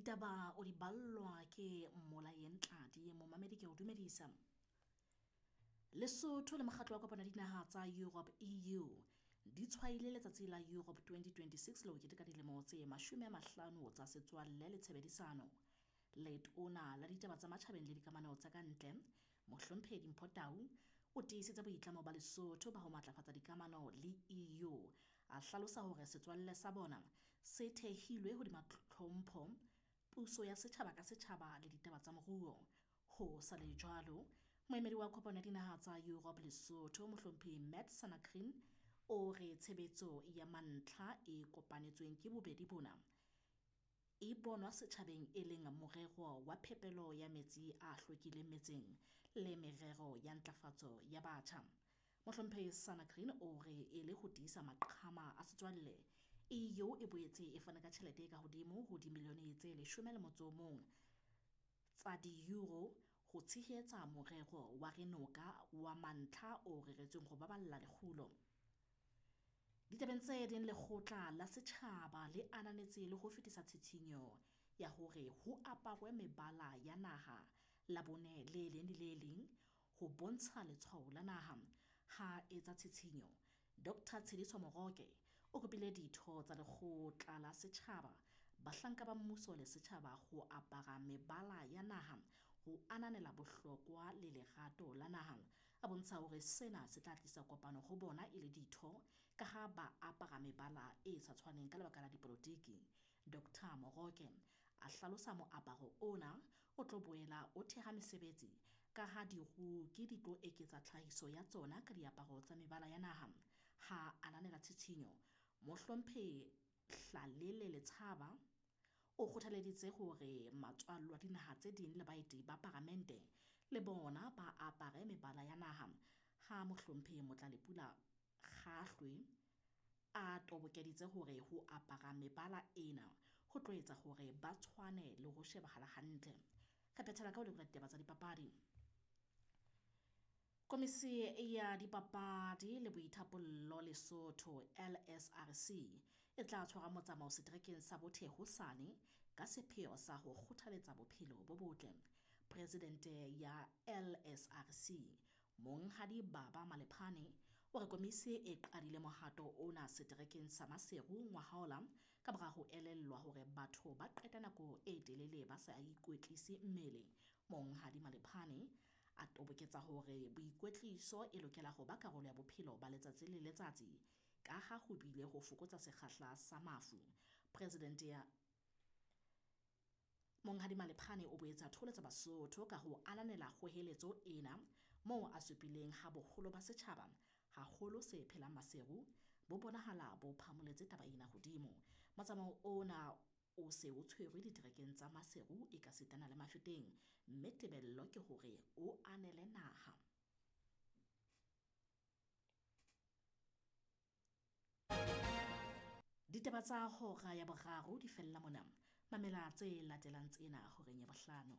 Ditaba o di ballwa ke Mmolayeng Tladi, momamedi ke o dumedisa. Lesotho le mokgatlo wa kopano ya dinaha tsa Europe EU di tshwaile letsatsi la Europe 2026 le ho keteka dilemo tse 50 tsa setswalle le tshebedisano. Letona la ditaba tsa matjhabeng le dikamano tsa ka ntle, Mohlomphehi Dimpho Tau, o tiisitse boitlamo ba Lesotho ba ho matlafatsa dikamano le EU. A hlalosa hore setswalle sa bona se thehilwe hodima tlhompho, puso ya setjhaba ka setjhaba le ditaba tsa moruo. Ho sa le jwalo, moemedi wa kopano ya dinaha tsa Europe Lesotho, Mohlomphehi Matt Sanakrin, o re tshebetso ya mantlha e kopanetsweng ke bobedi bona e bonwa setjhabeng e leng morero wa phepelo ya metsi a hlwekileng metseng le merero ya ntlafatso ya batjha. Mohlomphehi Sanakrin o re e le ho tiisa maqhama a setswalle, EU e boetse e fane ka tjhelete e ka hodimo ho dimilione tse 11 tsa di-euro ho tshehetsa morero wa Renoka wa mantlha o reretsweng ho baballa lekgulo. Ditabeng tse ding, lekgotla la setjhaba le ananetse le ho fetisa tshitshinyo ya hore ho aparwe mebala ya naha Labone le leng le le leng ho bontsha letshwao la naha. Ha etsa tshitshinyo, Dr Tshediso Moroke o kopile ditho tsa lekgotla la setjhaba, bahlanka ba mmuso le setjhaba ho apara mebala ya naha ho ananela bohlokwa le lerato la naha. A bontsha hore sena se tla tlisa kopano ho bona e le ditho ka ha ba apara mebala e sa tshwaneng ka lebaka la dipolotiki. Dr Moroke a hlalosa moaparo ona o tlo boela o theha mesebetsi ka ha diruki di tlo eketsa tlhahiso ya tsona ka diaparo tsa mebala ya naha. Ha ananela tshitshinyo, Mohlomphehi Hlalele Letshaba o kgothaleditse hore matswallo a dinaha tse ding le baeti ba paramente le bona ba apare mebala ya naha. Ha Mohlomphehi Motlalepula Kgahlwe a tobokeditse hore ho apara mebala ena ho tlo etsa hore ba tshwane le ho shebahala hantle. Re phethela ka ho lekola ditaba tsa dipapadi. Komisi ya dipapadi le boithapollo Lesotho LSRC e tla tshwara motsamao seterekeng sa Bothe hosane ka sepheo sa ho kgothaletsa bophelo bo botle. Presidente ya LSRC Monghadi Baba Malephane o re komisi e qadile mohato ona seterekeng sa Maseru ngwahola ka mora ho elellwa hore batho ba qeta nako e telele ba sa ikwetlise mmele. Monghadi Malephane a toboketsa hore boikwetliso e lokela ho ba karolo ya bophelo ba letsatsi le letsatsi ka ha ho bile ho fokotsa sekgahla sa mafu. Presidente ya Monghadi Malephane o boetse a thoholetsa Basotho ka ho ananela kgoheletso ena moo a supileng ha boholo ba setjhaba haholo se phelang Maseru bo bonahala bo phamoletse taba ena hodimo. Motsamao ona o se o tshwerwe diterekeng tsa Maseru ekasitana le Mafeteng, mme tebello ke hore o anele naha. Ditaba tsa hora ya boraro di fella mona. Mamela tse latelang tsena horeng ya bohlano.